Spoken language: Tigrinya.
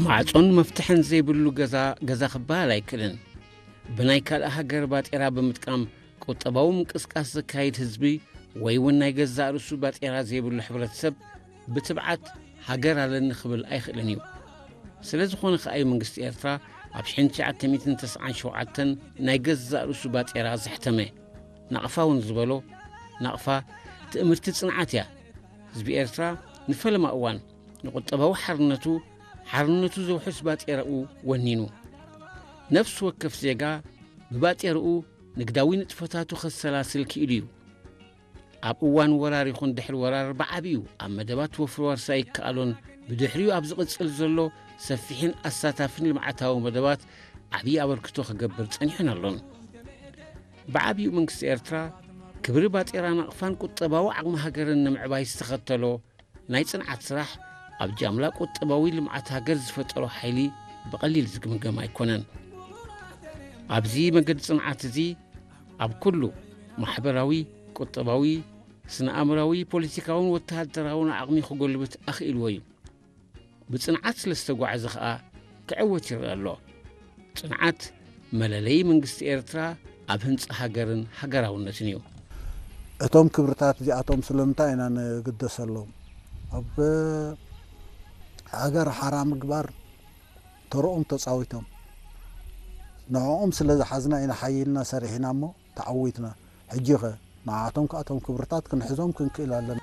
ማዕጾን መፍትሕን ዘይብሉ ገዛ ገዛ ክበሃል ኣይክእልን። ብናይ ካልእ ሃገር ባጤራ ብምጥቃም ቁጠባዊ ምንቅስቃስ ዘካይድ ህዝቢ ወይ እውን ናይ ገዛእ ርእሱ ባጤራ ዘይብሉ ሕብረተሰብ ብትብዓት ሃገር ኣለኒ ክብል ኣይኽእልን እዩ። ስለ ዝኾነ ከኣ እዩ መንግስቲ ኤርትራ ኣብ ሽሕን ትሽዓተ ሚእትን ተስዓን ሸውዓተን ናይ ገዛእ ርእሱ ባጤራ ዘሕተመ። ናቕፋ እውን ዝበሎ፣ ናቕፋ ትእምርቲ ጽንዓት እያ። ህዝቢ ኤርትራ ንፈለማ እዋን ንቁጠባዊ ሓርነቱ፣ ሓርነቱ ዘውሕስ ባጤራኡ ወኒኑ። ነፍሲ ወከፍ ዜጋ ብባጤራኡ ንግዳዊ ንጥፈታቱ ከሰላስል ክኢሉ እዩ። ኣብ እዋን ወራር ይኹን ድሕሪ ወራር ብዓቢኡ ኣብ መደባት ወፍሪ ዋርሳይ ይከኣሎን ብድሕሪኡ ኣብ ዝቕጽል ዘሎ ሰፊሕን ኣሳታፍን ልምዓታዊ መደባት ዓብዪ ኣበርክቶ ክገብር ጸኒሑን ኣሎን። ብዓቢኡ መንግስቲ ኤርትራ ክብሪ ባጤራ ናቕፋን ቁጠባዊ ዓቕሚ ሃገርን ንምዕባይ ዝተኸተሎ ናይ ጽንዓት ስራሕ ኣብ ጃምላ ቁጠባዊ ልምዓት ሃገር ዝፈጠሮ ሓይሊ ብቐሊል ዝግምገም ኣይኮነን። ኣብዚ መገዲ ጽንዓት እዚ ኣብ ኩሉ ማሕበራዊ፣ ቁጠባዊ፣ ስነ ኣእምራዊ፣ ፖለቲካውን ወተሃደራውን ዓቕሚ ክጎልብት ኣኽኢልዎ እዩ። ብጽንዓት ስለ ዝተጓዕዘ ኸኣ ክዕወት ይረአ ኣሎ። ጽንዓት መለለዪ መንግስቲ ኤርትራ ኣብ ህንጻ ሃገርን ሃገራውነትን እዩ። እቶም ክብርታት እዚኣቶም ስለምንታይ ኢና ንግደሰሎም? ኣብ ሃገር ሓራ ምግባር ተርኦም ተጻዊቶም። ንዕኦም ስለ ዝሓዝና ኢና ሓይልና ሰሪሕና እሞ ተዓዊትና። ሕጂ ኸ ንዓቶም ከኣቶም ክብርታት ክንሕዞም ክንክእል ኣለና።